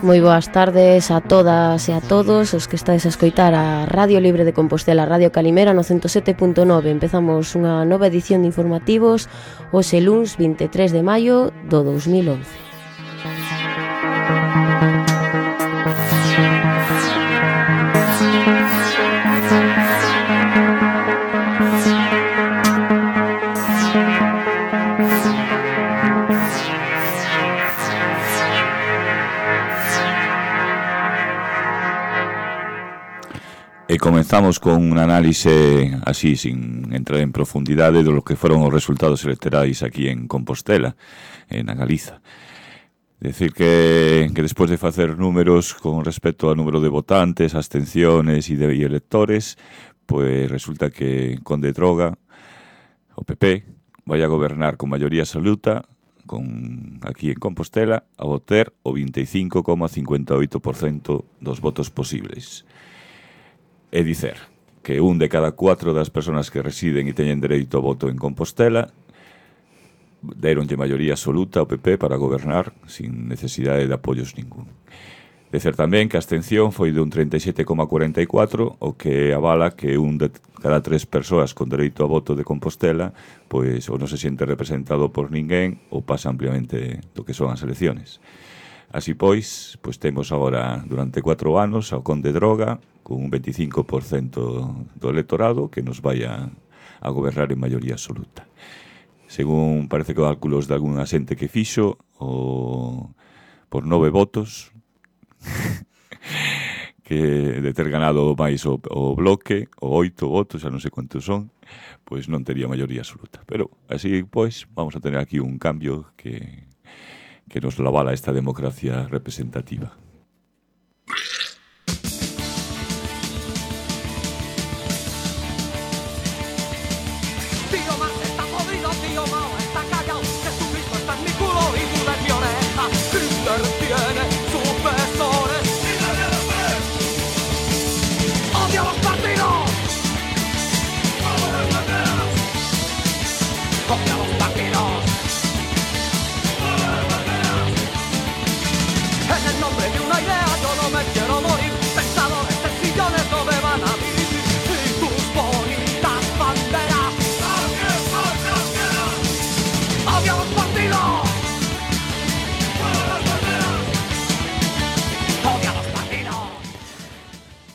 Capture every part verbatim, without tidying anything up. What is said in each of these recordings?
Moi boas tardes a todas e a todos os que estades a escoitar a Radio Libre de Compostela, Radio Calimera no ciento sete punto nove. Empezamos unha nova edición de informativos hoxe luns vinte e tres de maio do dous mil once. E comenzamos con un análise así, sin entrar en profundidade, do que foron os resultados electorais aquí en Compostela, en Galiza. Decir que, que despois de facer números con respecto ao número de votantes, abstenciones e de e electores, pois resulta que Conde Droga, o P P, vai a gobernar con maioría absoluta, con aquí en Compostela, a obter o vinte e cinco coma cincuenta e oito por cento dos votos posibles. É dicer, que un de cada cuatro das persoas que residen e teñen dereito ao voto en Compostela deronlle maioría absoluta ao P P para gobernar sin necesidade de apoios ningún. Dicer tamén que a abstención foi dun trinta e sete coma cuarenta e catro, o que avala que un de cada tres persoas con dereito ao voto de Compostela pois ou non se siente representado por ninguén ou pasa ampliamente do que son as elecciones. Así pois, pois temos agora durante cuatro anos ao Conde Droga con un veinticinco por cento do electorado que nos vai a, a gobernar en maioría absoluta. Según parece que cálculos de algunha xente que fixo, o, por nove votos, que de ter ganado máis o, o bloque, o oito votos, xa non sei quantos son, pois non tería maioría absoluta. Pero así pois vamos a tener aquí un cambio que, que nos avala esta democracia representativa.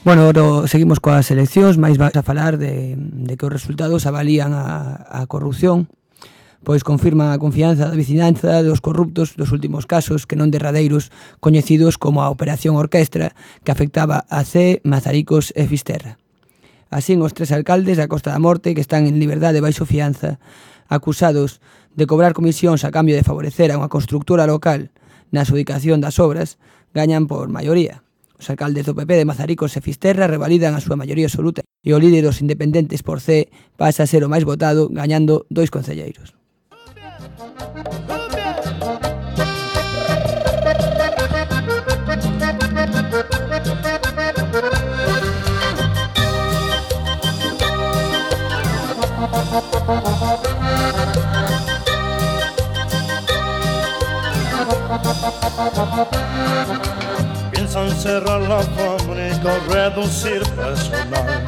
Bueno, ora seguimos coas eleccións, máis vais a falar de, de que os resultados avalían a, a corrupción, pois confirman a confianza da vicinanza dos corruptos dos últimos casos, que non derradeiros, coñecidos como a Operación Orquestra, que afectaba a Cee, Mazaricos e Fisterra. Así, os tres alcaldes da Costa da Morte, que están en liberdade baixo fianza, acusados de cobrar comisións a cambio de favorecer a unha constructora local na adxudicación das obras, gañan por maioría. Os alcaldes do P P de Mazaricos e Fisterra revalidan a súa maioría absoluta e o líder dos independentes por Cee pasa a ser o máis votado, gañando dois concelleiros. Piensan cerrar la fábrica o reducir personal,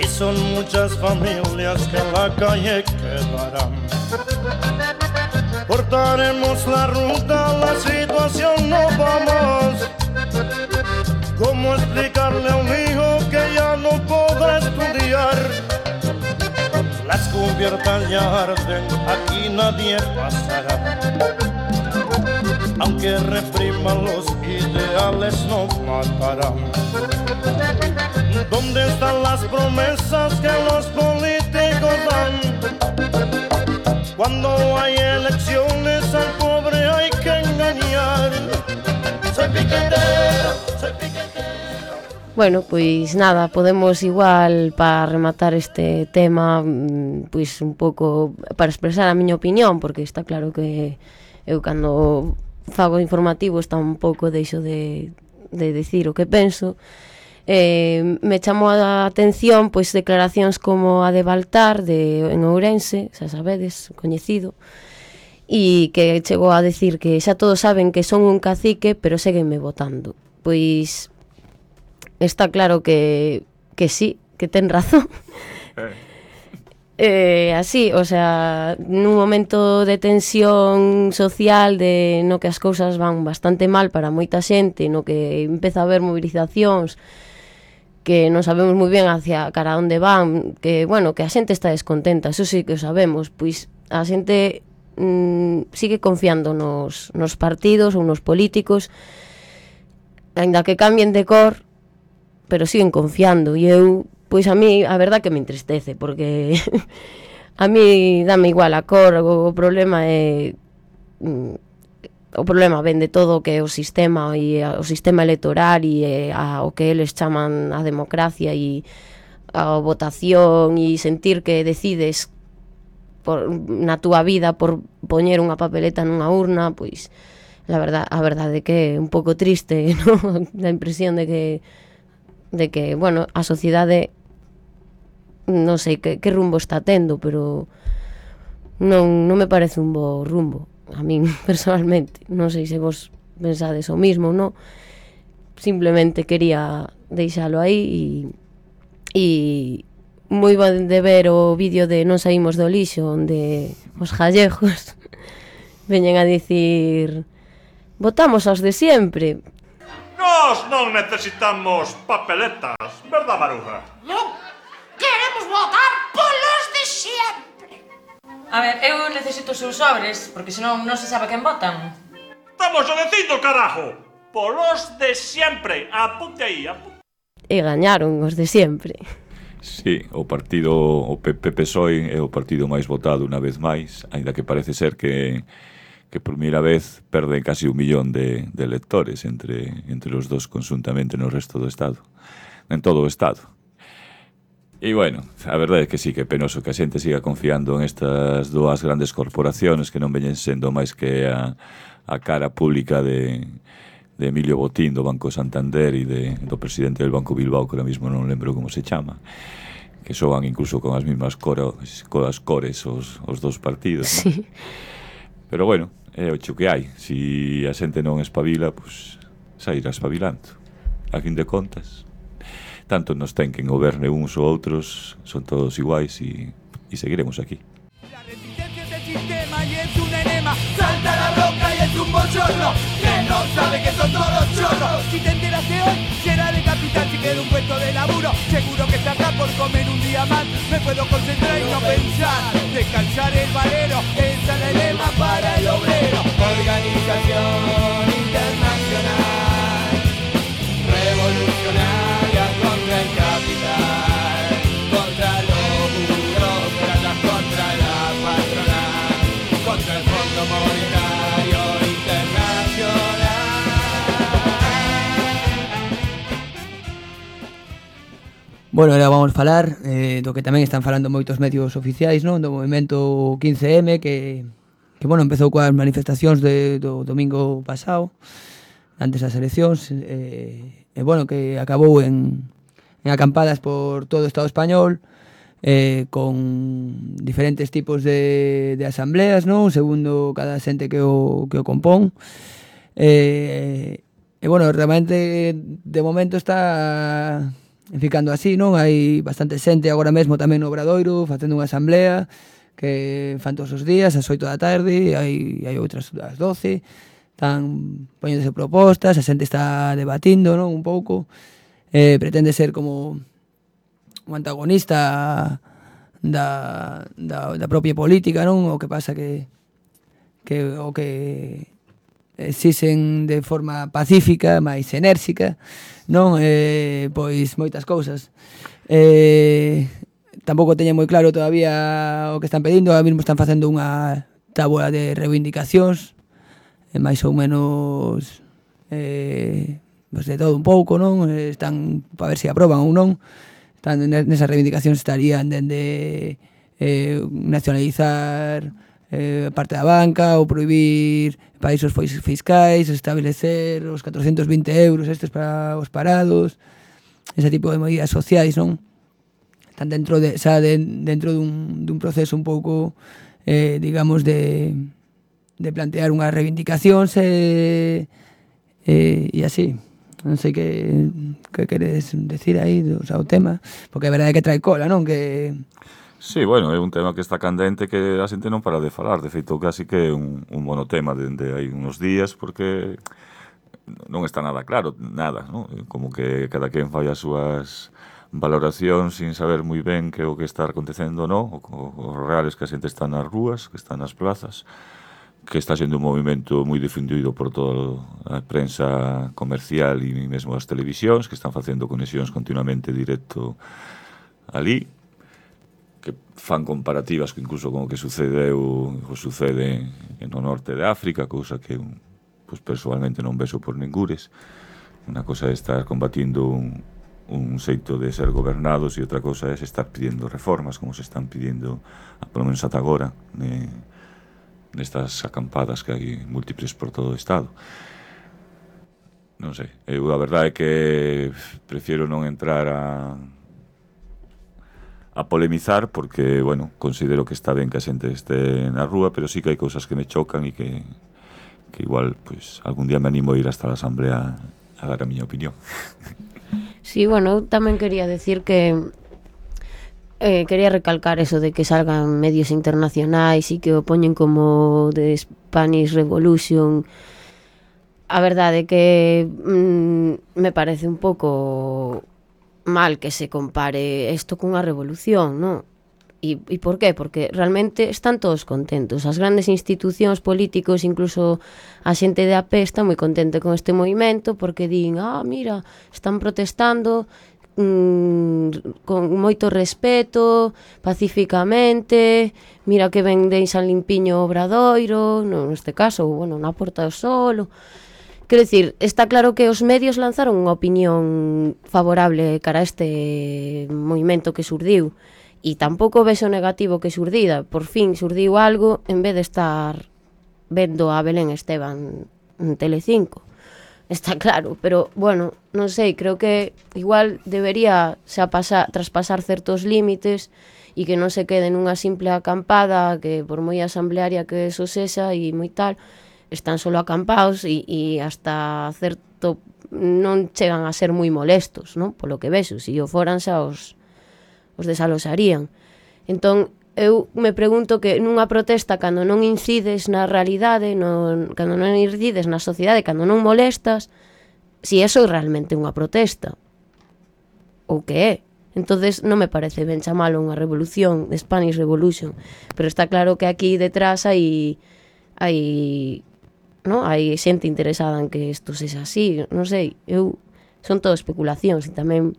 y son muchas familias que en la calle quedarán. Cortaremos la ruta, la situación no va más. ¿Cómo explicarle a un hijo que ya no podrá estudiar? Las cubiertas ya arden, aquí nadie pasará. Aunque repriman los ideales no matarán. ¿Dónde están las promesas que los políticos dan? Cuando hay elecciones al pobre hay que engañar. Soy piquetero, soy piquetero. Bueno, pois nada, podemos igual para rematar este tema, pois un pouco para expresar a miña opinión, porque está claro que eu cando fago informativo está un pouco deixo de, de decir o que penso. Eh, me chamou a atención pois declaracións como a de Baltar de, en Ourense, xa sabedes, coñecido, e que chegou a decir que xa todos saben que son un cacique, pero séguenme votando. Pois está claro que, que sí, que ten razón. Eh, así, o sea, nun momento de tensión social, de no que as cousas van bastante mal para moita xente, no que empeza a haber movilizacións, que non sabemos moi ben hacia cara onde van, que, bueno, que a xente está descontenta, eso sí que o sabemos, pois a xente mm, sigue confiando nos, nos partidos ou nos políticos, aínda que cambien de cor, pero siguen confiando, e eu, pois a mí, a verdad que me entristece, porque a mí dame igual a cor, o problema é o problema ven de todo o que é o sistema e o sistema electoral e a, o que eles chaman a democracia e a votación e sentir que decides por, na túa vida por poñer unha papeleta nunha urna, pois la verdad, a verdade que é un pouco triste, ¿no? Da impresión de que de que, bueno, a sociedade non sei que, que rumbo está tendo, pero non, non me parece un bo rumbo a min personalmente. Non sei se vos pensades o mismo, non? Simplemente quería deixalo aí e, e moi bon de ver o vídeo de Non saímos do lixo, onde os gallegos veñen a dicir votamos aos de sempre. Nós non necesitamos papeletas, verdad, Maruja? Non, queremos votar polos de sempre. A ver, eu necesito os seus sobres, porque senón non se sabe quen votan. Estamos o dicindo, carajo! Polos de sempre, apunte aí, apunte. E gañaron os de sempre. Sí, o partido, o P P P S O E é o partido máis votado unha vez máis, aínda que parece ser que que por primeira vez perde casi un millón de, de electores entre, entre os dos consuntamente no resto do Estado, en todo o Estado. E, bueno, a verdade é que sí, que é penoso que a xente siga confiando en estas dúas grandes corporaciones que non veñen sendo máis que a, a cara pública de, de Emilio Botín, do Banco Santander, e de, do presidente del Banco Bilbao, que ahora mismo non lembro como se chama, que soan incluso con as mismas cores, coas cores os, os dos partidos, ¿no? Sí. Pero, bueno, é o cho que hai. Si a xente non espabila, pois sairá espabilando. A fin de contas, tanto nos ten que goberne uns ou outros, son todos iguais e, e seguiremos aquí. La resistencia es el sistema y es un enema. Salta la bronca y es un bochorno que no sabe que son todos chorros. Si te enteras de hoy, será de capital si queda un puesto de laburo. Seguro que está acá por comer un día más. Me puedo concentrar y no pensar. Descansar el valero, esa es la lema para el obrero. Organización internacional, revolucionaria contra el capital, contra los burócratas, contra la patronal, contra el Fondo Monetario Internacional. Bueno, ahora vamos a falar eh, do que tamén están falando moitos medios oficiais, non? Do movimento quince eme que, que bueno, empezou coas manifestacións de, do domingo pasado, antes das eleccións, eh, e bueno, que acabou en, en acampadas por todo o Estado español, eh, con diferentes tipos de, de asambleas, non? Segundo cada xente que o, que o compón. Eh, e bueno, realmente de momento está ficando así, non? Hai bastante xente agora mesmo tamén no Obradoiro facendo unha asamblea que fan todos os días ás oito da tarde, hai, hai outras ás doce, están poñéndose propostas, a xente está debatindo, non? Un pouco, eh, pretende ser como un antagonista da, da, da propia política, non? O que pasa que, que o que exixen de forma pacífica, máis enérxica, non? Eh, pois moitas cousas. Eh, tampouco teñen moi claro todavía o que están pedindo, ahora mesmo están facendo unha táboa de reivindicacións, eh, máis ou menos eh, pues de todo un pouco, non? Eh, están para ver se aproban ou non. Están nesas reivindicacións estarían dende eh, nacionalizar eh, parte da banca ou prohibir países fiscais, establecer os catrocentos vinte euros estes para os parados, ese tipo de medidas sociais, non? Están dentro de, xa de, dentro dun, dun proceso un pouco, eh, digamos, de, de plantear unhas reivindicacións e, e, e así. Non sei que, que queres decir aí do, o sea, o tema, porque é verdade que trae cola, non? Que... Sí, bueno, é un tema que está candente que a xente non para de falar. De feito, casi que é un, un monotema dende hai unos días, porque non está nada claro, nada, non? Como que cada quen fai as súas valoracións sin saber moi ben que o que está acontecendo, non? O, o, o real é que a xente está nas rúas, que está nas plazas, que está sendo un movimento moi difundido por toda a prensa comercial e mesmo as televisións, que están facendo conexións continuamente directo ali, que fan comparativas que incluso con o que sucedeu o sucede no norte de África, cousa que pues, personalmente non vexo por ningures. Unha cosa é estar combatindo un, un xeito de ser gobernados e outra cosa é estar pidiendo reformas, como se están pidiendo, polo menos ata agora, ne, nestas acampadas que hai múltiples por todo o Estado. Non sei, eu a verdade é que prefiero non entrar a a polemizar porque, bueno, considero que está ben que a xente este na rúa, pero sí que hai cousas que me chocan e que, que igual, pues, algún día me animo a ir hasta a Asamblea a dar a miña opinión. Sí, bueno, eu tamén quería decir que Eh, quería recalcar eso de que salgan medios internacionais e que o poñen como de Spanish Revolution. A verdade é que mm, me parece un pouco mal que se compare isto cunha revolución, non? E, e por qué? Porque realmente están todos contentos. As grandes institucións políticos, incluso a xente de a pé está moi contente con este movimento porque din, ah, mira, están protestando con moito respeto, pacíficamente, mira que ven deixan limpiño o Obradoiro, no, neste caso, bueno, na Porta do Sol. Quero dicir, está claro que os medios lanzaron unha opinión favorable cara a este movimento que surdiu e tampouco vexo negativo que surdida, por fin surdiu algo en vez de estar vendo a Belén Esteban en Telecinco. Está claro, pero, bueno, non sei, creo que igual debería xa pasar, traspasar certos límites e que non se quede nunha simple acampada que por moi asamblearia que eso sexa e moi tal, están solo acampados e, e hasta certo non chegan a ser moi molestos, non? Polo que vexo, se o foran xa os, os desalosarían. Entón, eu me pregunto que nunha protesta cando non incides na realidade, non, cando non incides na sociedade, cando non molestas, si eso é realmente unha protesta ou que é. Entonces non me parece ben chamalo unha revolución, Spanish Revolution, pero está claro que aquí detrás hai hai, no, hai xente interesada en que isto sexa así, non sei, eu son todo especulacións e tamén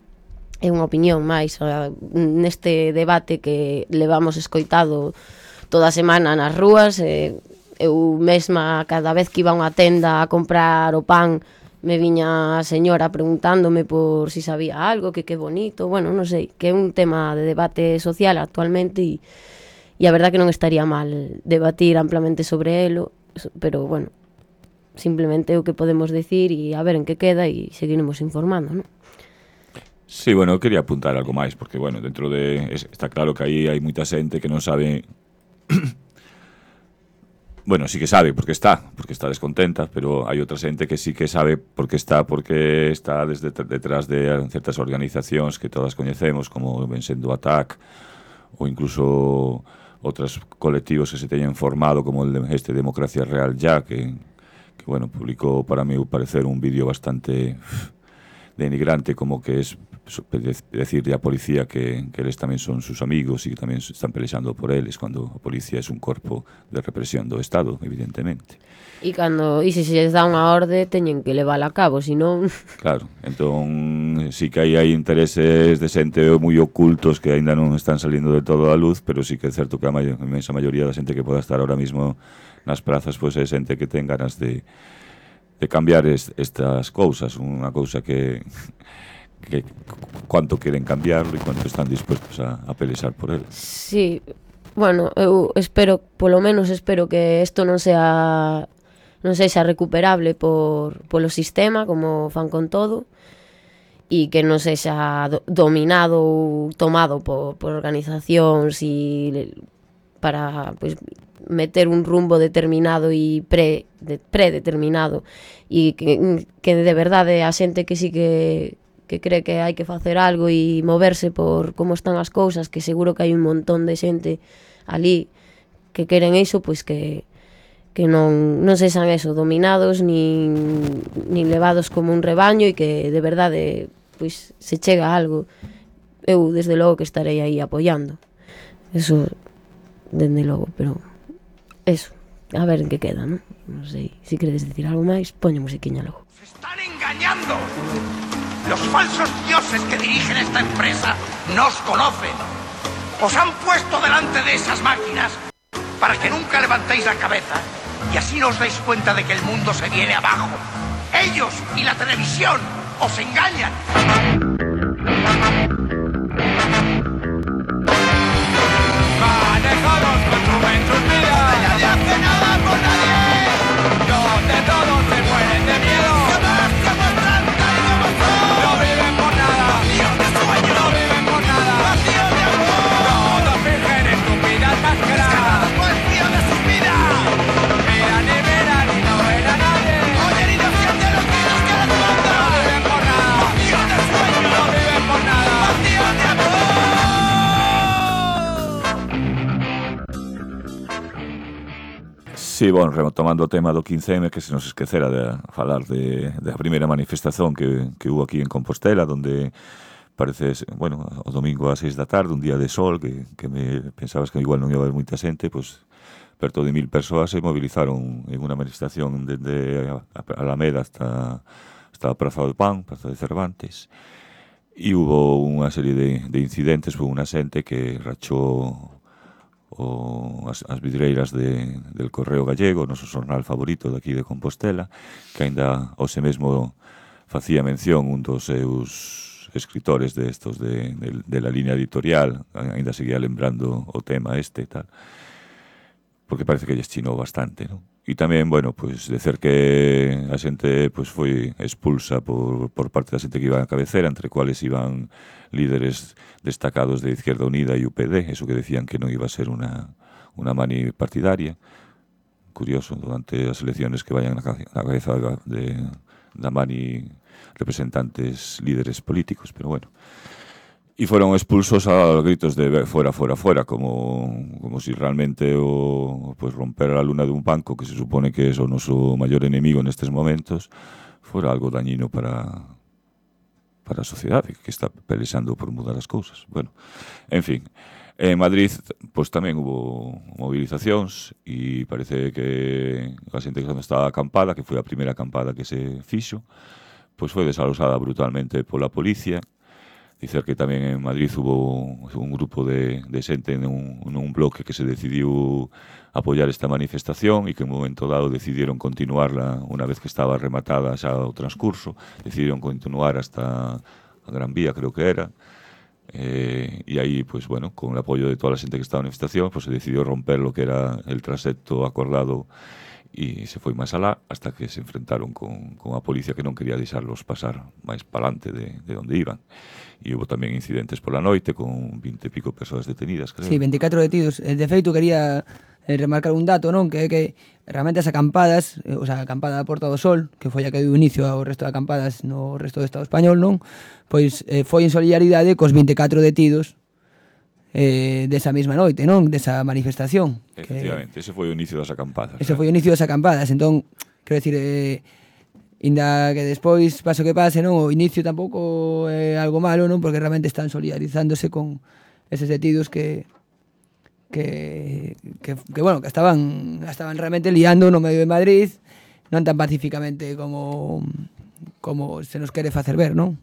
é unha opinión máis uh, neste debate que levamos escoitado toda a semana nas rúas. eh, eu mesma cada vez que iba a unha tenda a comprar o pan me viña a señora preguntándome por si sabía algo, que que bonito, bueno, non sei, que é un tema de debate social actualmente e, e a verdad que non estaría mal debatir amplamente sobre elo, pero bueno, simplemente o que podemos decir e a ver en que queda e seguiremos informando, non? Sí, bueno, eu quería apuntar algo máis, porque, bueno, dentro de... Está claro que aí hai moita xente que non sabe... bueno, sí que sabe porque está, porque está descontenta, pero hai outra xente que sí que sabe porque está, porque está desde detrás de certas organizacións que todas coñecemos, como ven sendo A T A C, ou incluso outros colectivos que se teñen formado, como el de este Democracia Real Ya, que, que bueno, publicou, para mí, parecer un vídeo bastante denigrante, como que es decirle a policía que, que eles tamén son sus amigos e que tamén están pelexando por eles, cuando a policía é un corpo de represión do Estado, evidentemente. E cando, e se se les dá unha orde teñen que levala a cabo, senón... Claro, entón sí que aí hai intereses de xente moi ocultos que aínda non están salindo de todo a luz, pero sí que é certo que a, may- a inmensa maioría da xente que poda estar ahora mismo nas prazas, pois é xente que ten ganas de, de cambiar es, estas cousas, unha cousa que... que cuánto queren cambiarlo e cuánto están dispuestos a, a pelexar por él. Sí, bueno, eu espero, polo menos espero que isto non sea non sexa recuperable por polo sistema, como fan con todo, e que non sexa do, dominado ou tomado por, por organizacións e para, pois, meter un rumbo determinado e pre, de, predeterminado e que, que de verdade a xente que sí que, que cree que hai que facer algo e moverse por como están as cousas, que seguro que hai un montón de xente ali que queren iso, pois que que non, non sexan eso, dominados nin, nin levados como un rebaño e que de verdade pois se chega a algo. Eu desde logo que estarei aí apoiando eso, dende logo, pero eso, a ver en que queda, ¿no? Non sei, se queredes decir algo máis, poño musiquiña logo. ¡Se están engañando! Los falsos dioses que dirigen esta empresa nos conocen. Os han puesto delante de esas máquinas para que nunca levantéis la cabeza y así no os dais cuenta de que el mundo se viene abajo. Ellos y la televisión os engañan. Manejados consumen sus vidas. Nadie hace nada por nadie. Donde todos se mueren de miedo. Jamás se muestran tal como son. No viven por nada. Vacíos de sueño. No viven por nada. Vacíos de amor. Todos fingen estúpidas máscaras. Vacíos de sus vidas. Miran y miran y no ven a nadie. Oyen y no sienten los gritos que les mandan. No viven por nada. Vacíos de sueño. No viven por nada. Vacíos de amor. Sí, bueno, retomando o tema do quince eme, que se nos esquecera de falar de, de a primeira manifestación que, que hubo aquí en Compostela, donde parece, bueno, o domingo a seis da tarde, un día de sol, que, que me pensabas que igual non ia haber moita xente, pois perto de mil persoas se movilizaron en unha manifestación desde a Alameda hasta, hasta a Praza do Pan, Praza de Cervantes, e hubo unha serie de, de incidentes, foi unha xente que rachou o, as, as vidreiras de, del Correo Gallego, o noso xornal favorito daqui de Compostela, que aínda hoxe mesmo facía mención un dos seus escritores de estos de, de, de la línea editorial, aínda seguía lembrando o tema este e tal, porque parece que lles chinou bastante, non? E tamén, bueno, pois, decer que a xente pois, foi expulsa por, por parte da xente que iba a cabecera, entre cuales iban líderes destacados de Izquierda Unida e U P D, eso que decían que non iba a ser unha, unha mani partidaria. Curioso, durante as elecciones que vayan na cabeza de, da mani representantes líderes políticos, pero bueno. E foron expulsos a gritos de fuera, fuera, fuera, como, como si realmente o pues, romper a luna dun banco, que se supone que é o noso maior enemigo nestes momentos, fora algo dañino para para a sociedade, que está pelexando por mudar as cousas. Bueno, en fin, en Madrid pues, tamén hubo movilizacións e parece que a xente que estaba acampada, que foi a primeira acampada que se fixo, pues foi desalosada brutalmente pola policía. Dicer que tamén en Madrid hubo un grupo de, de xente nun, nun bloque que se decidiu apoiar esta manifestación e que en un momento dado decidieron continuarla unha vez que estaba rematada xa o transcurso, decidieron continuar hasta a Gran Vía, creo que era, eh, e aí, pues bueno, con el apoio de toda a xente que estaba na manifestación, pues se decidiu romper lo que era el trasecto acordado e se foi máis alá hasta que se enfrentaron con, con a policía que non quería deixarlos pasar máis palante de, de onde iban. E hubo tamén incidentes pola noite con vinte e pico persoas detenidas, creo. Sí, veinticuatro detidos. De feito, quería eh, remarcar un dato, non? Que é que realmente as acampadas, eh, o sea, a acampada da Porta do Sol, que foi a que deu inicio ao resto de acampadas no resto do Estado español, non? Pois eh, foi en solidaridade cos veinticuatro detidos eh, desa mesma noite, non? Desa manifestación. Efectivamente, que ese foi o inicio das acampadas. Ese foi o inicio das acampadas, entón, quero dicir, eh, inda que despois, paso que pase, non, o inicio tampouco é algo malo, non, porque realmente están solidarizándose con eses detidos que que, que, que bueno, que estaban estaban realmente liando no medio de Madrid, non tan pacíficamente como como se nos quere facer ver, non?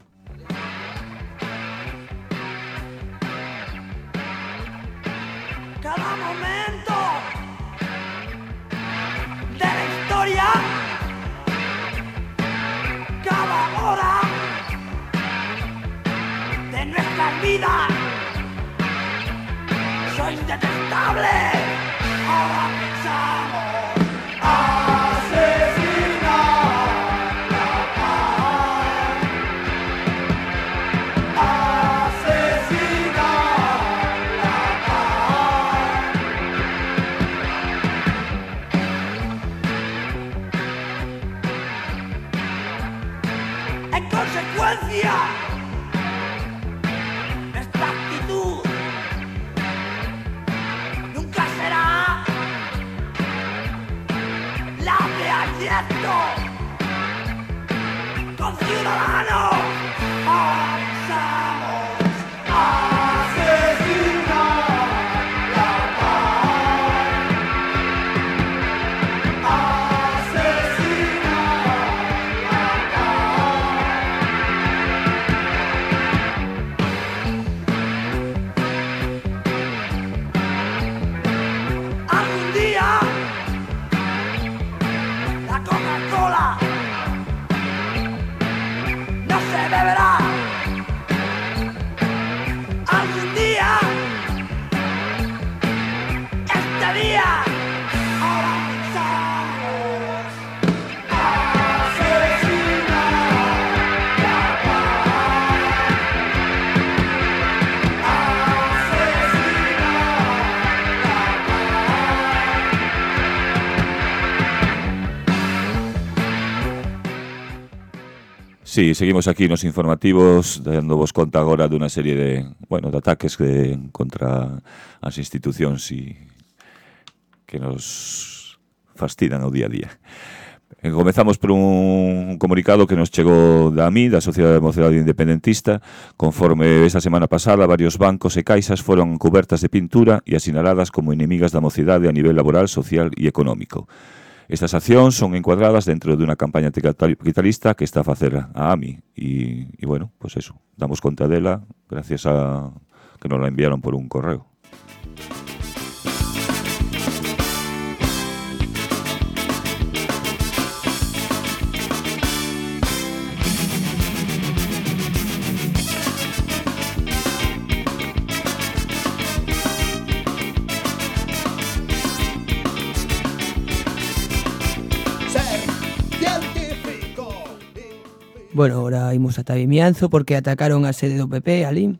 Cada momento de la historia, cada hora de nuestras vidas, sois detestables. Ahora pensamos asesinar la paz, asesinar la paz. energía, nuestra actitud nunca será la de aliento con ciudadanos. Avanzamos, asesina la paz, asesina la paz. Algún día la Coca-Cola no se beberá. Algún día, este día, avanzamos, asesina la paz, asesina la Sí, seguimos aquí nos informativos dando vos conta agora dunha serie de, bueno, de ataques de, contra as institucións e que nos fastidan o día a día. E comezamos por un comunicado que nos chegou da A M I, da Sociedade de Mocedade Independentista. Conforme esta semana pasada, varios bancos e caixas foron cubertas de pintura e asinaladas como inimigas da mocidade a nivel laboral, social e económico. Estas accións son encuadradas dentro dunha campaña capitalista que está a facer a A M I e, e bueno, pues eso, damos conta dela gracias a que nos la enviaron por un correo. Bueno, ahora imos ata Vimianzo porque atacaron a sede do P P ali.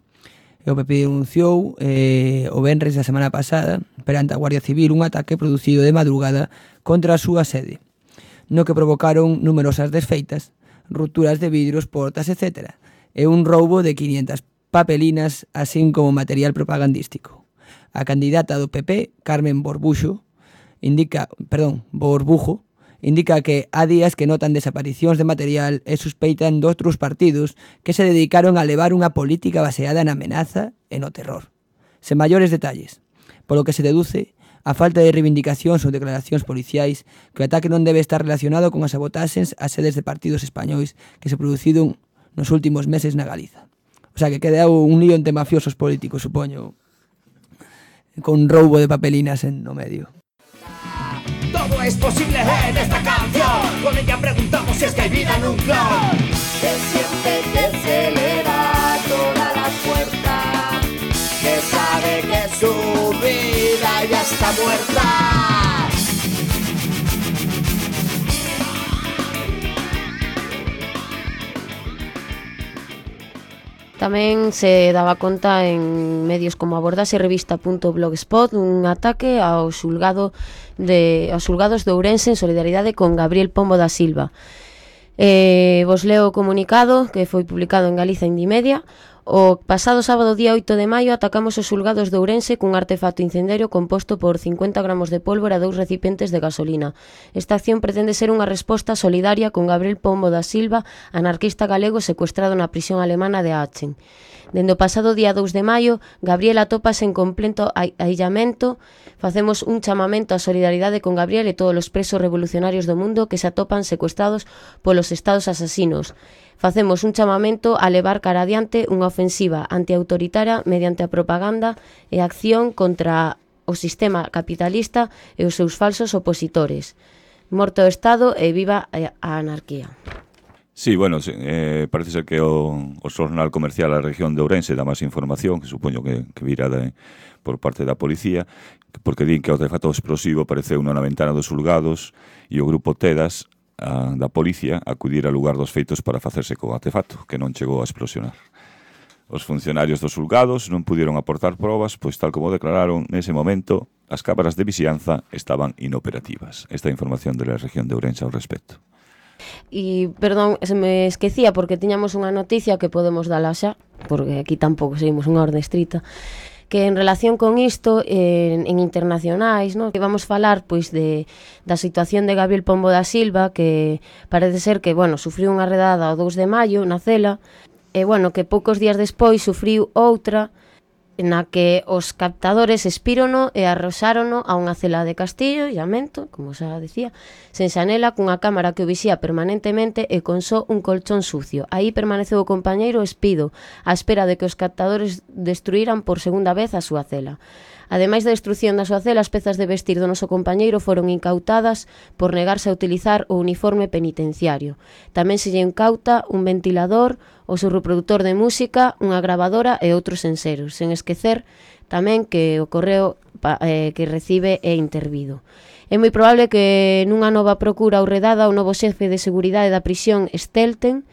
E o P P denunciou eh, o venres da semana pasada perante a Guardia Civil un ataque producido de madrugada contra a súa sede, no que provocaron numerosas desfeitas, rupturas de vidros, portas, etcétera, e un roubo de quinientas papelinas, así como material propagandístico. A candidata do P P, Carmen Borbuxo, indica, perdón, Borbujo, indica que há días que notan desaparicións de material e suspeitan doutros partidos que se dedicaron a levar unha política baseada na amenaza e no terror. Sen maiores detalles, polo que se deduce a falta de reivindicacións ou declaracións policiais que o ataque non debe estar relacionado con as sabotaxes ás sedes de partidos españois que se produciron nos últimos meses na Galiza. O sea, que queda un lío entre mafiosos políticos, supoño, con roubo de papelinas en no medio. Todo es posible en esta canción. Con ella preguntamos si es que hay vida en un clon. Que siente que se le da toda la fuerza, Que sabe que su vida ya está muerta. Tamén se daba conta en medios como Abordase Revista punto blogspot un ataque ao xulgado de, aos xulgados de Ourense en solidaridade con Gabriel Pombo da Silva. Eh, vos leo o comunicado que foi publicado en Galiza Indimedia. O pasado sábado día oito de maio atacamos os xulgados de Ourense cun artefacto incendiario composto por cincuenta gramos de pólvora e dous recipientes de gasolina. Esta acción pretende ser unha resposta solidaria con Gabriel Pombo da Silva, anarquista galego secuestrado na prisión alemana de Aachen. Dende o pasado día dous de maio, Gabriel atópase en completo aillamento. Facemos un chamamento á solidaridade con Gabriel e todos os presos revolucionarios do mundo que se atopan secuestrados polos estados asasinos. Facemos un chamamento a levar cara adiante unha ofensiva antiautoritaria mediante a propaganda e a acción contra o sistema capitalista e os seus falsos opositores. Morto o Estado e viva a anarquía. Sí, bueno, eh, parece ser que o, o xornal comercial da región de Ourense dá máis información, que supoño que, que virá de, por parte da policía, porque din que o artefacto explosivo apareceu na ventana dos xulgados e o grupo Tedas a, da policía acudir ao lugar dos feitos para facerse co artefacto, que non chegou a explosionar. Os funcionarios dos xulgados non pudieron aportar probas, pois tal como declararon nese momento, as cámaras de vixianza estaban inoperativas. Esta información de la región de Ourense ao respecto. E, perdón, se me esquecía porque tiñamos unha noticia que podemos dala xa, porque aquí tampouco seguimos unha orde estrita, que en relación con isto, en, en internacionais, no? Que vamos falar pois de da situación de Gabriel Pombo da Silva, que parece ser que, bueno, sufriu unha redada o dous de maio na cela, e, bueno, que poucos días despois sufriu outra na que os captadores espírono e arroxárono a unha cela de Castillo, llamento, como xa decía, sen xanela, cunha cámara que o vixía permanentemente e con só un colchón sucio. Aí permaneceu o compañeiro espido, á espera de que os captadores destruíran por segunda vez a súa cela. Ademais da destrucción da súa cela, as pezas de vestir do noso compañeiro foron incautadas por negarse a utilizar o uniforme penitenciario. Tamén se lle incauta un ventilador, o seu reproductor de música, unha grabadora e outros enseros, sen esquecer tamén que o correo eh, que recibe é intervido. É moi probable que nunha nova procura ou redada o novo xefe de seguridade da prisión Stelten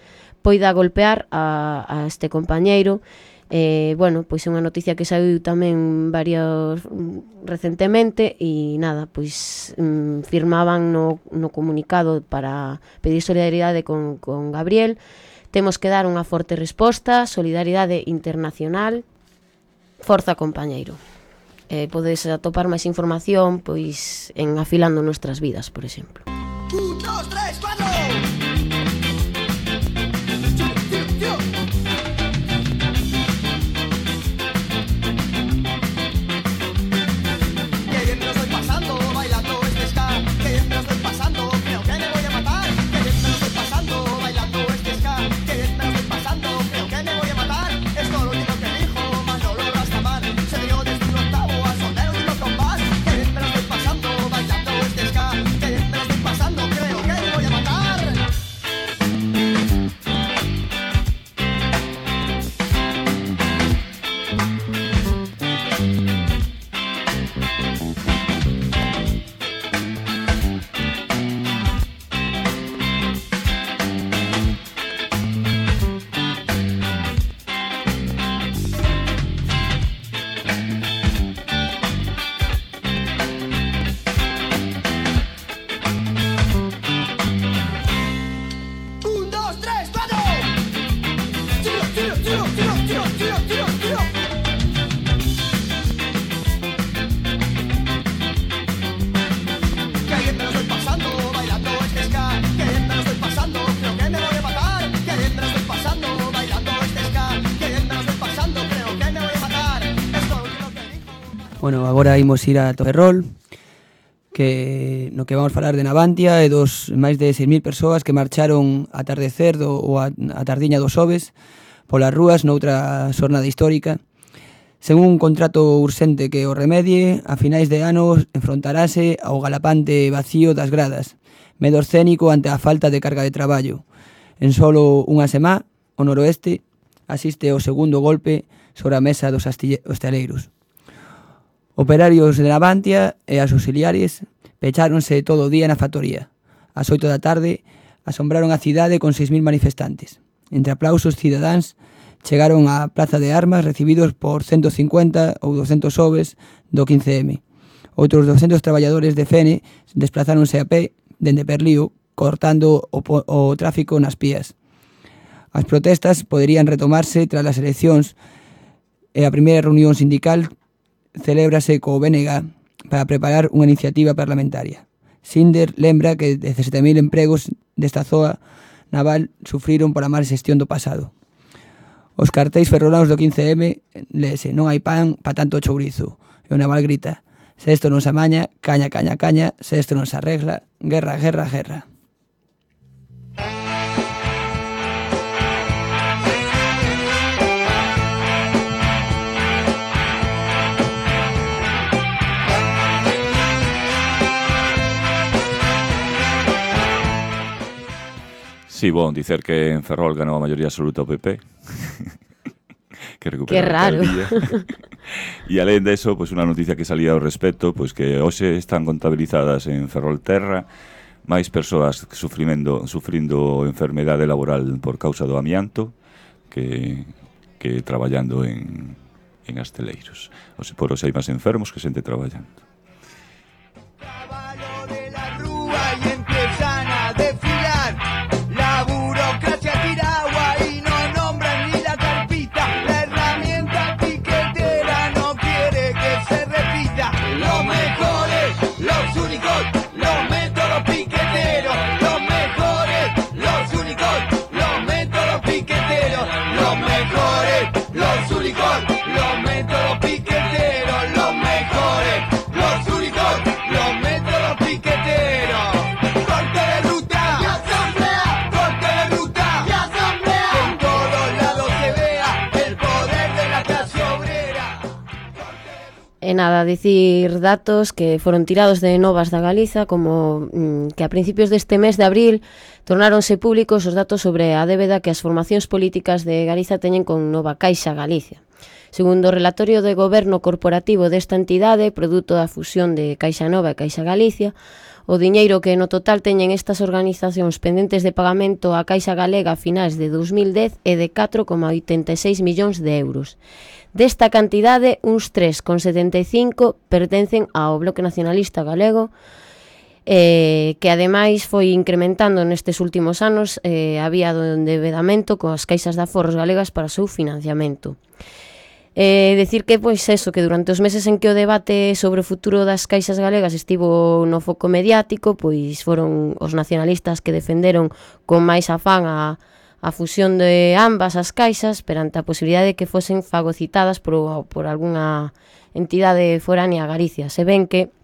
poida golpear a, a este compañeiro. Eh, bueno, pois é unha noticia que saiu tamén varios recentemente e nada, pois mm, firmaban no, no comunicado para pedir solidaridade con, con Gabriel. Temos que dar unha forte resposta, solidaridade internacional, forza compañeiro. Eh, podes atopar máis información pois en Afilando Nuestras Vidas, por exemplo. Un, dos, tres, cuatro. Bueno, agora imos ir a Ferrol, que no que vamos falar de Navantia e dos máis de seis mil persoas que marcharon a atardecer do, ou a, a tardiña dos xoves polas rúas noutra xornada histórica. Según un contrato urxente que o remedie, a finais de anos enfrontarase ao galapante vacío das gradas, medo escénico ante a falta de carga de traballo. En solo unha semá, o noroeste asiste ao segundo golpe sobre a mesa dos hostaleiros. Operarios de Navantia e as auxiliares pecháronse todo o día na factoría. Ás oito da tarde asombraron a cidade con seis mil manifestantes. Entre aplausos cidadáns chegaron á Praza de Armas recibidos por ciento cincuenta ou doscentos xoves do quince eme. Outros doscentos traballadores de Fene desplazáronse a pé dende Perlío, cortando o, o tráfico nas pías. As protestas poderían retomarse tras as eleccións e a primeira reunión sindical celébrase co B N G para preparar unha iniciativa parlamentaria. Sinder lembra que dezasete mil empregos desta zoa naval sufriron por a mal xestión do pasado. Os cartéis ferrolanos do quince eme lese: non hai pan pa tanto chourizo. E o naval grita: se isto non se amaña, caña, caña, caña, se isto non se arregla, guerra, guerra, guerra. Sí, bon, dicer que en Ferrol ganou a maioría absoluta o P P. Que recupera Qué raro. E alén de eso, pues, unha noticia que salía ao respecto, pues, que hoxe están contabilizadas en Ferrolterra máis persoas sufrindo, sufrindo enfermedade laboral por causa do amianto que, que traballando en, en asteleiros. O se por os hai máis enfermos que xente traballando. Caballo de la rúa y empiezan a desfilar. mejores, los únicos, los métodos piqueteros, los mejores, los únicos, los métodos piqueteros. Corte de ruta y asamblea, corte de ruta y asamblea, que en todos lados se vea el poder de la clase obrera. E nada, dicir datos que foron tirados de Novas da Galiza, como mm, que a principios deste mes de abril tornáronse públicos os datos sobre a débeda que as formacións políticas de Galiza teñen con Nova Caixa Galicia. Segundo o relatorio de goberno corporativo desta entidade, produto da fusión de Caixa Nova e Caixa Galicia, o diñeiro que no total teñen estas organizacións pendentes de pagamento á Caixa Galega a finais de dos mil dez é de catro coma oitenta e seis millóns de euros. Desta cantidade, uns tres coma setenta e cinco pertencen ao Bloque Nacionalista Galego, eh, que ademais foi incrementando nestes últimos anos eh, a vía do endevedamento coas caixas de aforros galegas para o seu financiamento. Eh, decir que, pois, eso, que durante os meses en que o debate sobre o futuro das caixas galegas estivo no foco mediático, pois foron os nacionalistas que defenderon con máis afán a a fusión de ambas as caixas perante a posibilidade de que fosen fagocitadas por, por algunha entidade foránea a Galicia, se ven que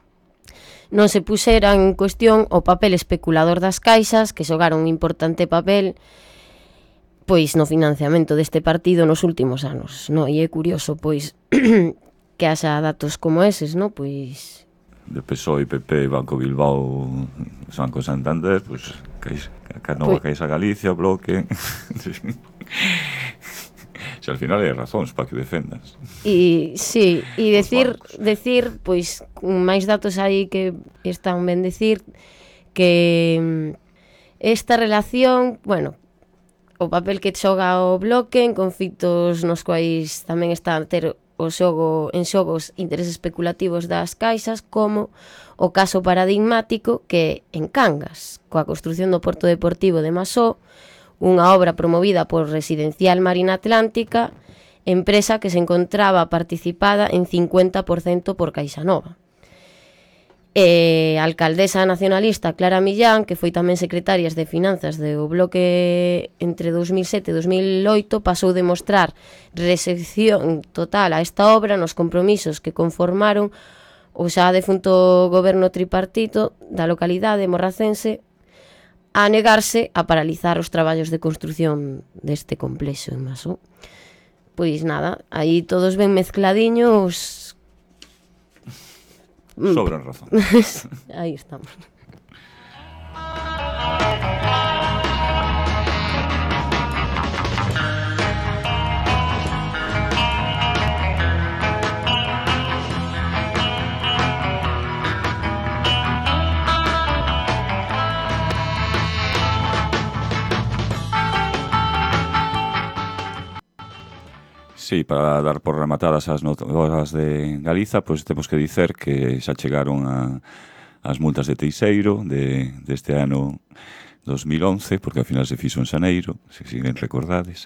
non se puxera en cuestión o papel especulador das caixas, que xogaron un importante papel pois no financiamento deste partido nos últimos anos, no? E é curioso, pois, que haxa datos como eses, no? Pois de P S O E, P P, Banco Bilbao, Banco Santander, pois pues, Caixa Nova, Caixa Galicia, Bloque. Se al final hai razóns para que defendas. E sí, e decir, decir, pois, máis datos aí que están ben decir que esta relación, bueno, o papel que xoga o Bloque en conflitos nos quais tamén está a ter o xogo en xogos intereses especulativos das caixas, como o caso paradigmático que en Cangas, coa construción do Porto Deportivo de Masó, unha obra promovida por Residencial Marina Atlántica, empresa que se encontraba participada en cincuenta por cento por Caixa Nova. E a alcaldesa nacionalista Clara Millán, que foi tamén secretaria de Finanzas do Bloque entre dos mil sete e dos mil oito, pasou de mostrar recepción total a esta obra nos compromisos que conformaron o xa defunto goberno tripartito da localidade morracense a negarse a paralizar os traballos de construción deste complexo en Masó. Pois nada, aí todos ben mezcladiños. Sobran razón. Aí estamos. Sí, para dar por rematadas as notas de Galiza, pois pues temos que dicer que xa chegaron a, as multas de Teixeiro de, deste ano dos mil once, porque ao final se fixo en xaneiro, se siguen recordades,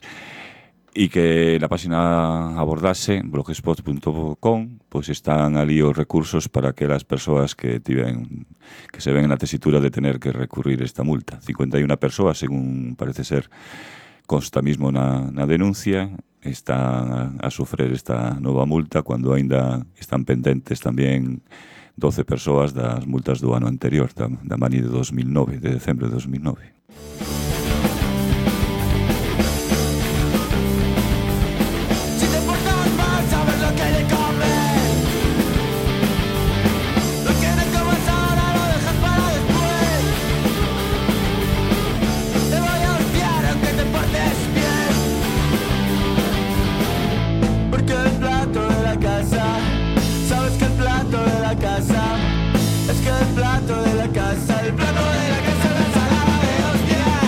e que na página abordase, blogspot punto com, pois pues están ali os recursos para aquelas persoas que tiven, que se ven na tesitura de tener que recurrir esta multa. cincuenta e unha persoas, según parece ser, consta mismo na, na denuncia, están a, a sofrer esta nova multa cando aínda están pendentes tamén doce persoas das multas do ano anterior, da, da mani de dos mil nove, de decembro de dos mil nove. Es que el plato de la casa, el plato de la casa, la ensalada de hostia.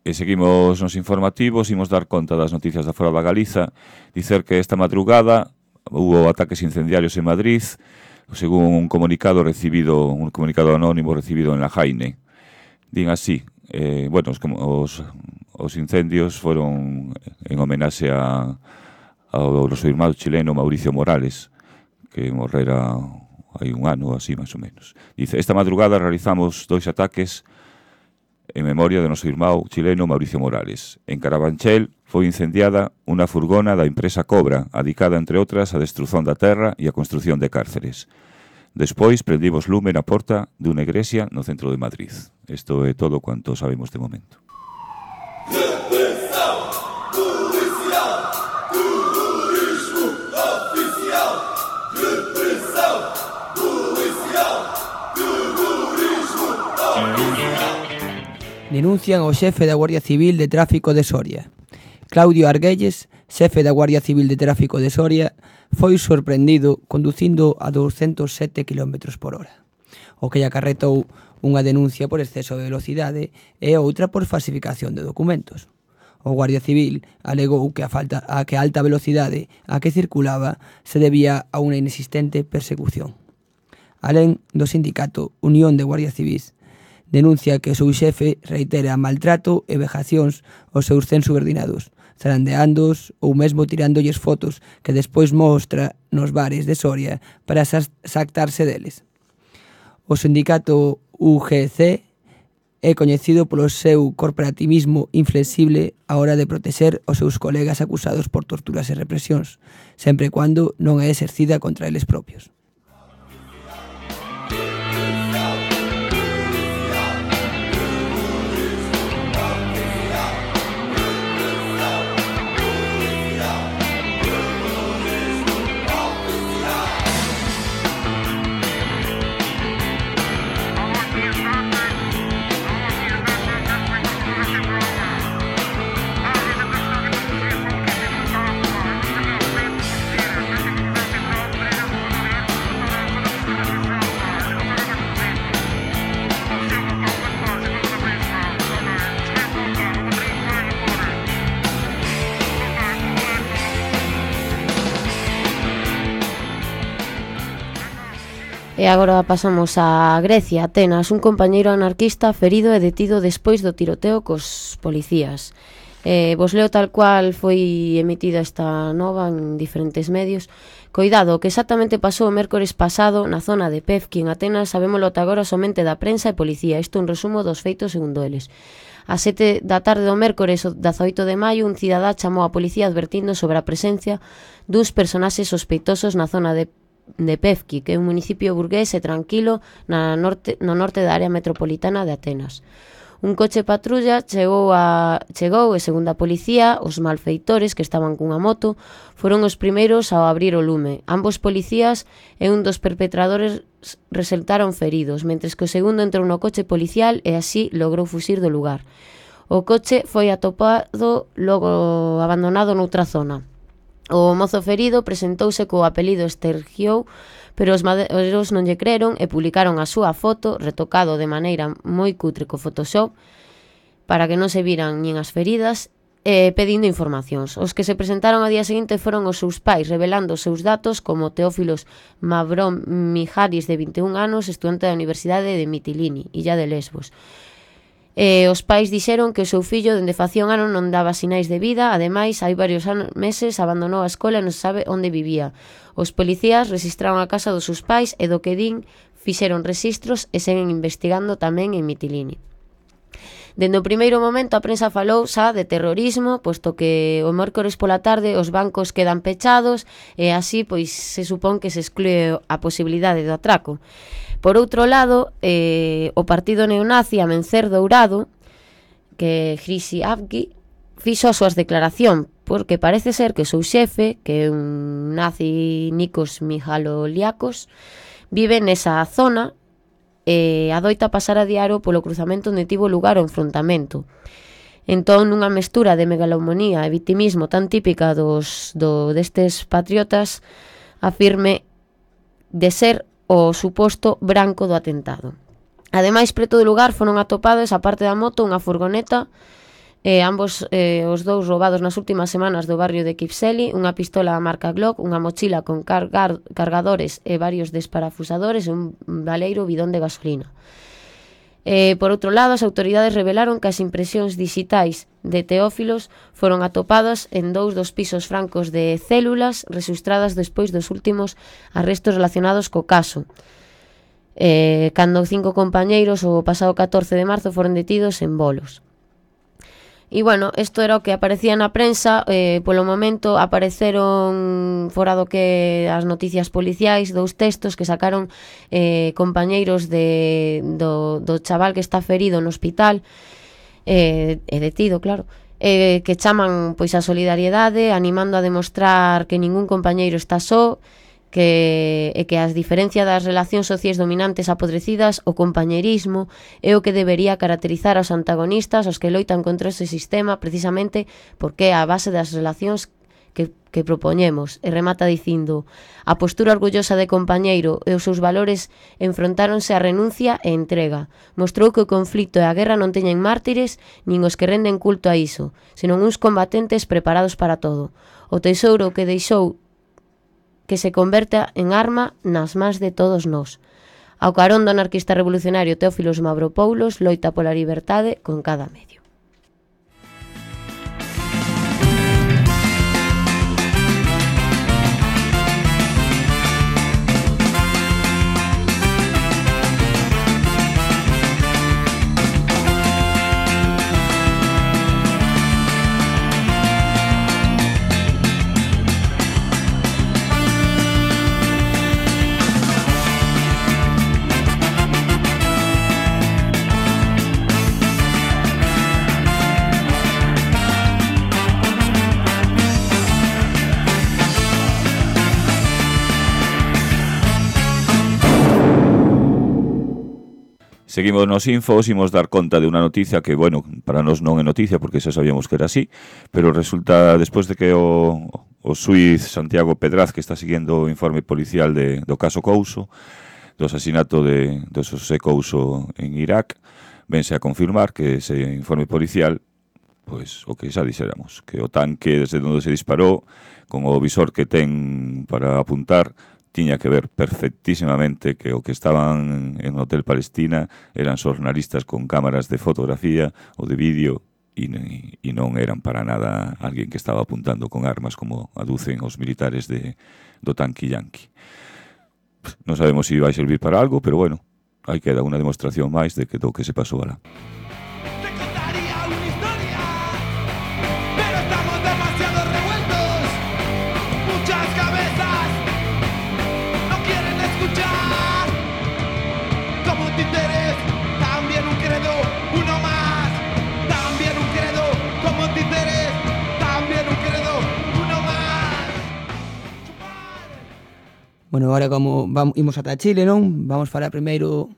E seguimos nos informativos, imos dar conta das noticias da fora da Galiza, dicer que esta madrugada hubo ataques incendiarios en Madrid, según un comunicado recibido, un comunicado anónimo recibido en la Jaine. Din así, eh, bueno, os, os, os incendios foron en homenaxe a, ao noso irmán chileno Mauricio Morales, que morrera hai un ano, así, máis ou menos. Dice, esta madrugada realizamos dois ataques en memoria do noso irmán chileno Mauricio Morales. En Carabanchel foi incendiada unha furgona da empresa Cobra, adicada, entre outras, á destruzón da terra e a construción de cárceres. Despois prendimos lume na porta dunha igrexa no centro de Madrid. Isto é todo cuanto sabemos de momento. Denuncian ao xefe da Guardia Civil de Tráfico de Soria. Claudio Arguelles, xefe da Guardia Civil de Tráfico de Soria, foi sorprendido conducindo a doscientos sete kilómetros por hora, o que lle acarretou unha denuncia por exceso de velocidade e outra por falsificación de documentos. O Guardia Civil alegou que a, falta, a que a alta velocidade a que circulaba se debía a unha inexistente persecución. Alén do sindicato Unión de Guardia Civís, denuncia que o seu xefe reitera maltrato e vejacións aos seus cen subordinados, zarandeándoos ou mesmo tirándolles fotos que despois mostra nos bares de Soria para xactarse deles. O sindicato U G C é coñecido polo seu corporativismo inflexible á hora de protexer os seus colegas acusados por torturas e represións, sempre e cando non é exercida contra eles propios. E agora pasamos a Grecia, Atenas. Un compañeiro anarquista ferido e detido despois do tiroteo cos policías. Eh, vos leo tal cual foi emitida esta nova en diferentes medios. Coidado, o que exactamente pasou o mércores pasado na zona de Pefki, en Atenas, sabémolo ata agora somente da prensa e policía. Isto é un resumo dos feitos segundo eles. A sete da tarde do mércores, o dezaoito de maio, un cidadá chamou a policía advertindo sobre a presencia duns personaxes sospeitosos na zona de de Pefki, que é un municipio burgués e tranquilo na norte, no norte da área metropolitana de Atenas. Un coche patrulla chegou, a, chegou e, segundo a policía, os malfeitores que estaban cunha moto foron os primeiros ao abrir o lume. Ambos policías e un dos perpetradores resultaron feridos, mentres que o segundo entrou no coche policial e así logrou fuxir do lugar. O coche foi atopado logo abandonado noutra zona. O mozo ferido presentouse co apelido Stergiou, pero os madeiros non lle creron e publicaron a súa foto, retocado de maneira moi cutre co Photoshop, para que non se viran nin as feridas, e pedindo informacións. Os que se presentaron ao día seguinte foron os seus pais, revelando os seus datos como Teófilos Mavrom Mijaris, de vinte e un anos, estudante da Universidade de Mitilini, illa de Lesbos. E os pais dixeron que o seu fillo dende facía un ano non daba sinais de vida. Ademais, hai varios anos, meses abandonou a escola e non se sabe onde vivía. Os policías registraron a casa dos seus pais e do que din fixeron registros e seguen investigando tamén en Mitilini. Dende o primeiro momento a prensa falou xa de terrorismo, posto que o mércores pola tarde os bancos quedan pechados e así pois se supón que se exclúe a posibilidade do atraco. Por outro lado, eh, o partido neonazi Amencer Dourado, que Hrisi Avgi, fixo as súas declaración, porque parece ser que o seu xefe, que é un nazi Nikos Mihaloliakos, vive nesa zona e adoita pasar a diario polo cruzamento onde tivo lugar o enfrontamento. Entón, nunha mestura de megalomanía e victimismo tan típica dos, do, destes patriotas, afirme de ser o suposto branco do atentado. Ademais, preto do lugar foron atopados, a parte da moto, unha furgoneta eh, ambos eh, os dous roubados nas últimas semanas do barrio de Kipseli, unha pistola marca Glock, unha mochila con cargar, cargadores e varios desparafusadores e un baleiro bidón de gasolina. Eh, por outro lado, as autoridades revelaron que as impresións digitais de Teófilos foron atopadas en dous dos pisos francos de células registradas despois dos últimos arrestos relacionados co caso, eh, cando cinco compañeiros o pasado catorce de marzo foron detidos en Bolos. E, bueno, isto era o que aparecía na prensa. Eh, polo momento apareceron, fora do que as noticias policiais, dous textos que sacaron eh, compañeiros de, do, do chaval que está ferido no hospital, eh, e detido, claro, eh, que chaman pois a solidariedade, animando a demostrar que ningún compañeiro está só, que, e que as diferencias das relacións sociais dominantes apodrecidas, o compañerismo é o que debería caracterizar aos antagonistas, os que loitan contra ese sistema, precisamente porque é a base das relacións que, que propoñemos. E remata dicindo: a postura orgullosa de compañeiro e os seus valores enfrontáronse a renuncia e entrega. Mostrou que o conflito e a guerra non teñen mártires nin os que renden culto a iso, senón uns combatentes preparados para todo. O tesouro que deixou que se converta en arma nas mans de todos nós. Ao carón do anarquista revolucionario Teófilos Mavropoulos loita pola liberdade con cada medio. Seguimos nos infos, imos dar conta de unha noticia que, bueno, para nós non é noticia porque xa sabíamos que era así, pero resulta, despois de que o, o suíz Santiago Pedraz, que está seguindo o informe policial de, do caso Couso, do asasinato de, de José Couso en Irak, vense a confirmar que ese informe policial, pois o que xa dixéramos, que o tanque desde onde se disparou, con o visor que ten para apuntar, tiña que ver perfectísimamente que o que estaban en Hotel Palestina eran xornalistas con cámaras de fotografía ou de vídeo e, e non eran para nada alguén que estaba apuntando con armas como aducen os militares de, do tanque yanqui. Non sabemos se vai servir para algo, pero bueno, aí queda unha demostración máis de que do que se pasou alá. Bueno, agora como vamos, imos ata Chile, non? Vamos falar primeiro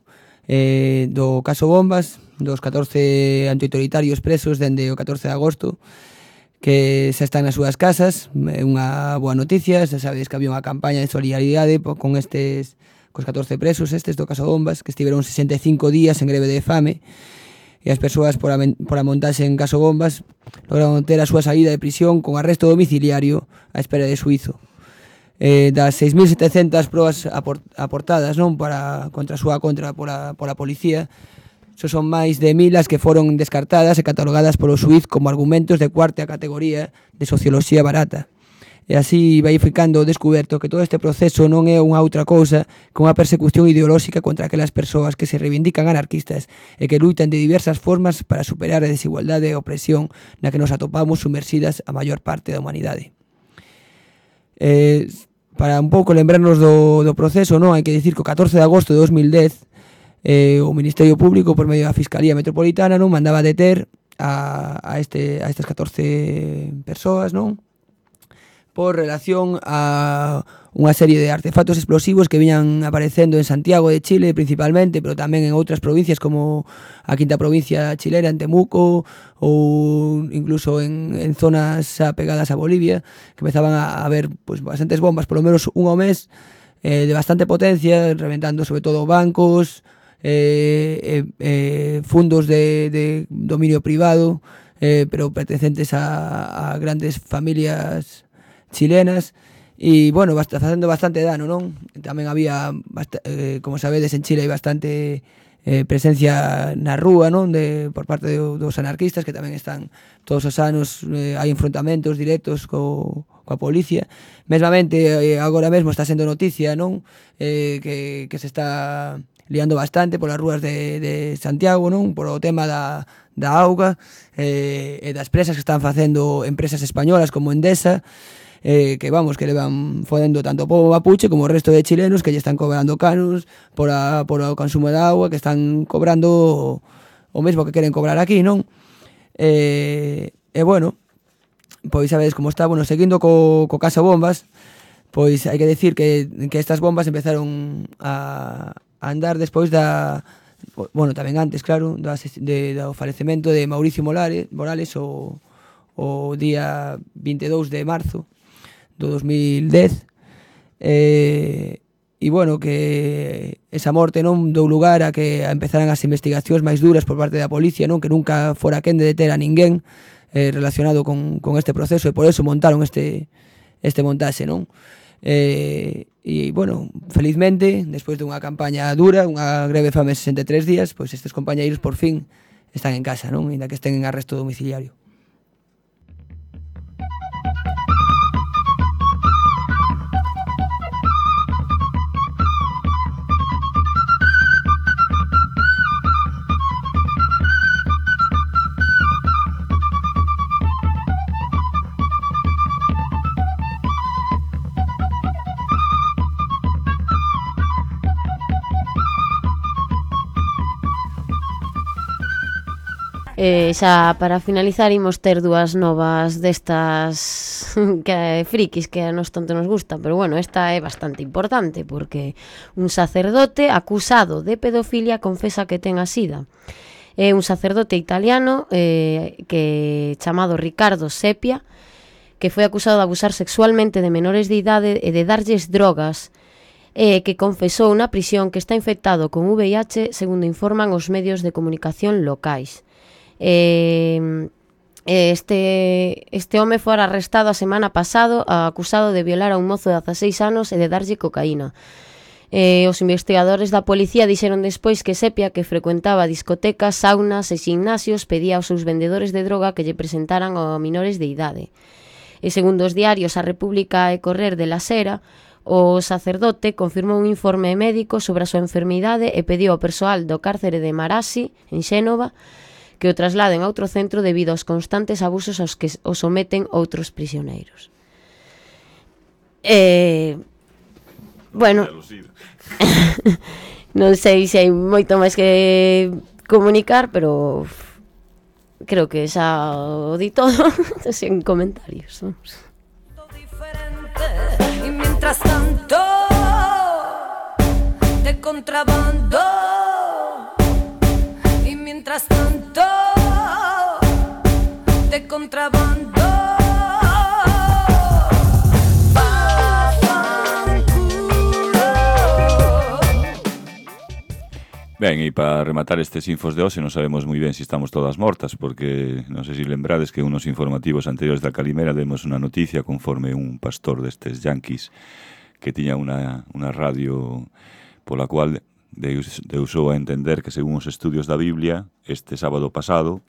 eh, do caso Bombas, dos catorce antiautoritarios presos dende o catorce de agosto, que xa están nas súas casas. É unha boa noticia, xa sabedes que había unha campaña de solidaridade con estes, cos catorce presos estes do caso Bombas, que estiveron sesenta e cinco días en greve de fame, e as persoas por, a, por a montarse en caso Bombas lograron ter a súa saída de prisión con arresto domiciliario á espera de suizo. Eh, das seis mil setecentas probas aport, aportadas non para contra a súa contra pola, pola policía, so son máis de mil as que foron descartadas e catalogadas polo xuíz como argumentos de cuarta categoría de socioloxía barata. E así vai ficando descuberto que todo este proceso non é unha outra cousa que unha persecución ideolóxica contra aquelas persoas que se reivindican anarquistas e que luitan de diversas formas para superar a desigualdade e a opresión na que nos atopamos sumersidas a maior parte da humanidade. Eh, para un pouco lembrarnos do, do proceso, non, hai que dicir que o catorce de agosto de dos mil dez eh, o Ministerio Público, por medio da Fiscalía Metropolitana, non mandaba deter a, a, este, a estas catorce persoas, non, por relación a unha serie de artefactos explosivos que viñan aparecendo en Santiago de Chile principalmente, pero tamén en outras provincias como a quinta provincia chilena, en Temuco, ou incluso en, en zonas apegadas a Bolivia, que empezaban a haber pues, bastantes bombas, por lo menos un ao mes, eh, de bastante potencia, reventando sobre todo bancos, eh, eh, eh, fundos de, de dominio privado, eh, pero pertenecentes a, a grandes familias chilenas, e, bueno, bast facendo bastante dano, non? Tamén había, eh, como sabedes, en Chile hai bastante eh, presencia na rúa, non? De, por parte do, dos anarquistas, que tamén están todos os anos, eh, hai enfrontamentos directos co, coa policía. Mesmamente, eh, agora mesmo está sendo noticia, non? Eh, que, que se está liando bastante polas rúas de, de Santiago, non? Por o tema da, da auga, eh, e das presas que están facendo empresas españolas como Endesa, eh, que vamos, que levan fodendo tanto o povo mapuche como o resto de chilenos que lle están cobrando canos por, a, por o consumo de agua, que están cobrando o, o mesmo que queren cobrar aquí, non? E, e bueno, pois sabedes como está, bueno, seguindo co, co caso bombas, pois hai que decir que, que estas bombas empezaron a, a andar despois da, bueno, tamén antes, claro, da, de, do falecemento de Mauricio Morales, Morales o, o día vinte e dous de marzo do dos mil dez, e, e bueno, que esa morte non dou lugar a que empezaran as investigacións máis duras por parte da policía, non? Que nunca fora quen de deter a ninguén eh, relacionado con, con este proceso, e por eso montaron este, este montaxe, non? E, e, bueno, felizmente, despois dunha campaña dura, unha greve fame sesenta e tres días, pois estes compañeiros por fin están en casa, non? Ainda que estén en arresto domiciliario. Eh, xa para finalizar imos ter dúas novas destas que frikis que a nos tanto nos gustan, pero bueno, esta é bastante importante porque un sacerdote acusado de pedofilia confesa que ten a sida. É un sacerdote italiano eh, que chamado Riccardo Seppia, que foi acusado de abusar sexualmente de menores de idade e de darlles drogas, e que confesou na prisión que está infectado con V I H, segundo informan os medios de comunicación locais. Eh, este, este home fora arrestado a semana pasado acusado de violar a un mozo de dezaseis anos e de darlle cocaína. Eh, os investigadores da policía dixeron despois que Seppia, que frecuentaba discotecas, saunas e gimnasios, pedía aos seus vendedores de droga que lle presentaran a menores de idade. E segundo os diarios A República e Correr de la Sera, o sacerdote confirmou un informe médico sobre a súa enfermidade e pediu ao persoal do cárcere de Marassi, en Xénova, que o trasladen a outro centro debido aos constantes abusos aos que o someten outros prisioneiros. Eh, bueno, non sei se hai moito máis que comunicar, pero creo que xa o di todo, sen comentarios. Y mientras tanto, de contrabando, y mientras tanto, de contrabando. Ben, e para rematar estes infos de hoxe non sabemos moi ben se estamos todas mortas, porque non sei se lembrades que unos informativos anteriores da Calimera demos unha noticia conforme un pastor destes yanquis que tiña unha, unha radio pola cual deus, deusou a entender que según os estudios da Biblia este sábado pasado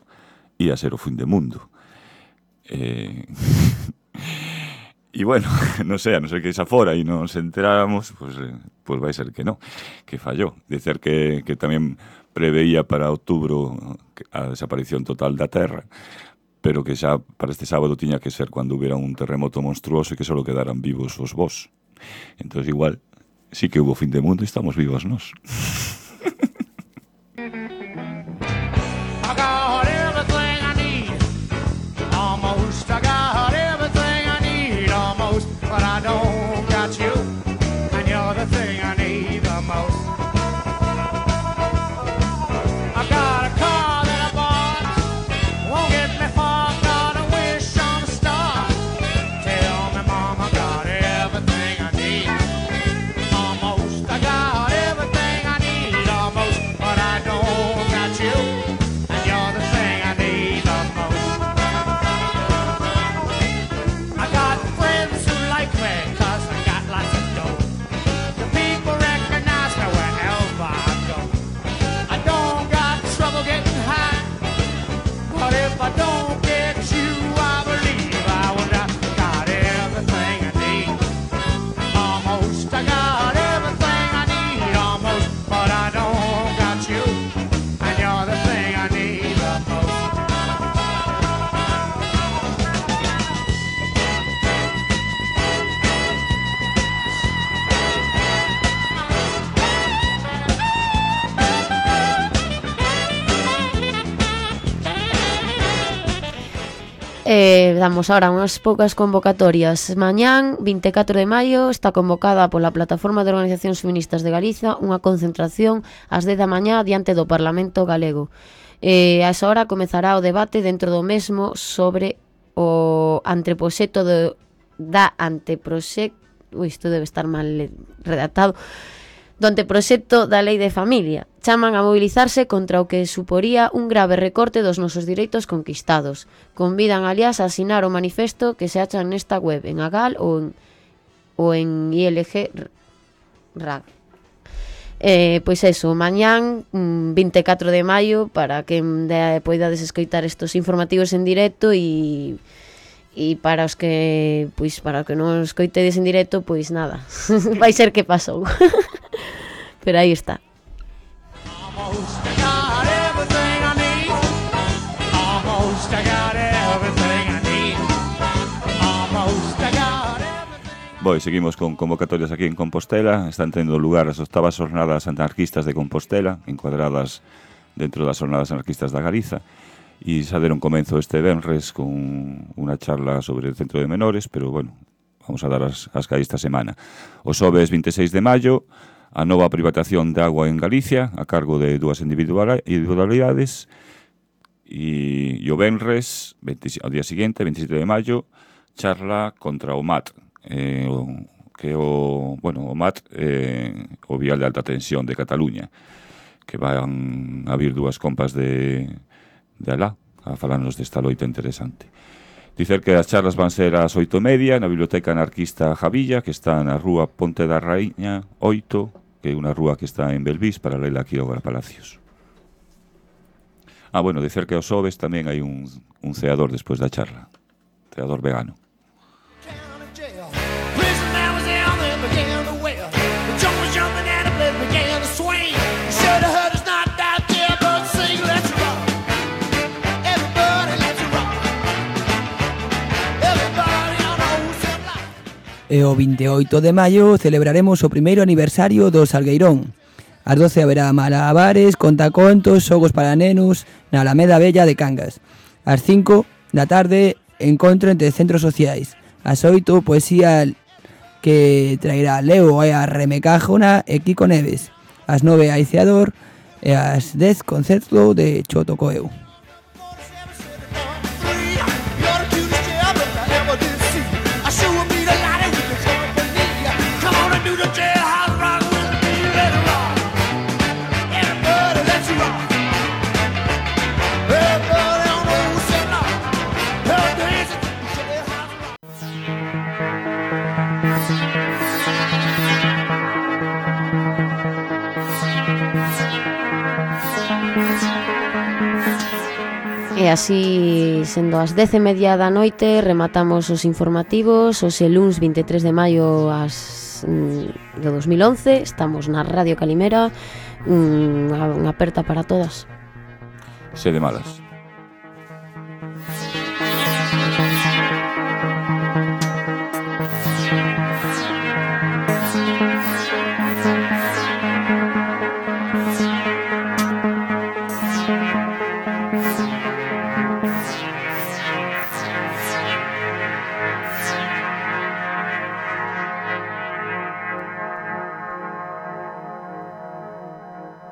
ia ser o fin do mundo. Eh... E bueno, non sei, a non ser que xa fora e non se enteráramos, pois, pues, pues vai ser que non, que fallou. Dicer que, que tamén preveía para outubro a desaparición total da Terra, pero que xa para este sábado tiña que ser cando hubiera un terremoto monstruoso e que só quedaran vivos os vós. Entón igual, sí que hubo fin de mundo e estamos vivos nós. But I don't got you, and you're the thing I need the most. I got a car that I bought, won't get me far, got a wish on a star. Tell me, Mom, I got everything I need, almost. I got everything I need, almost, but I don't Eh, damos ahora unhas poucas convocatorias. Mañán, vinte e catro de maio, está convocada pola Plataforma de Organizacións Feministas de Galiza unha concentración ás dez da mañá diante do Parlamento Galego. Eh, a esa hora comezará o debate dentro do mesmo sobre o anteproxecto de, da anteproxecto, ui, isto debe estar mal redactado, do anteproxecto da Lei de Familia. Chaman a mobilizarse contra o que suporía un grave recorte dos nosos direitos conquistados. Convidan, aliás, a asinar o manifesto que se achan nesta web, en Agal ou en, ou en I L G R A G. Eh, pois eso, mañán vinte e catro de maio, para que de, poidades escoitar estos informativos en directo e e para os que pois para os que non escoitedes en directo, pois nada, vai ser que pasou. Pero aí está. Boi, seguimos con convocatorias aquí en Compostela. Están tendo lugar as octavas jornadas anarquistas de Compostela, encuadradas dentro das jornadas anarquistas da Galiza, e xa deron comenzo este venres con unha charla sobre el centro de menores, pero, bueno, vamos a dar as, as que hai esta semana. O xoves vinte e seis de maio, a nova privatización de agua en Galicia, a cargo de dúas individualidades, e, e o venres, veinte, ao día seguinte, vinte e sete de maio, charla contra o M A T, eh, o, que o, bueno, o M A T, eh, o vial de alta tensión de Cataluña, que van a vir dúas compas de, de alá, a falarnos desta loita interesante. Dicer que as charlas van ser ás oito e media na Biblioteca Anarquista Javilla, que está na rúa Ponte da Raíña oito, que é unha rúa que está en Belvís, paralela a Quiroga Palacios. Ah, bueno, dicer que aos xoves tamén hai un, un ceador despois da charla, ceador vegano. E o vinte e oito de maio celebraremos o primeiro aniversario do Salgueirón. Ás doce haberá malabares, contacontos, xogos para nenos na Alameda Bella de Cangas. Ás cinco da tarde, encontro entre centros sociais. Ás oito, poesía que traerá Leo e a Remecájona e Kiko Neves. Ás nove, Aiceador, e ás dez, concerto de Chotocoeu. E así, sendo as dez e media da noite, rematamos os informativos. Os luns vinte e tres de maio as, mm, do dos mil once. Estamos na Radio Calimera. Unha, unha aperta para todas. Sede malas.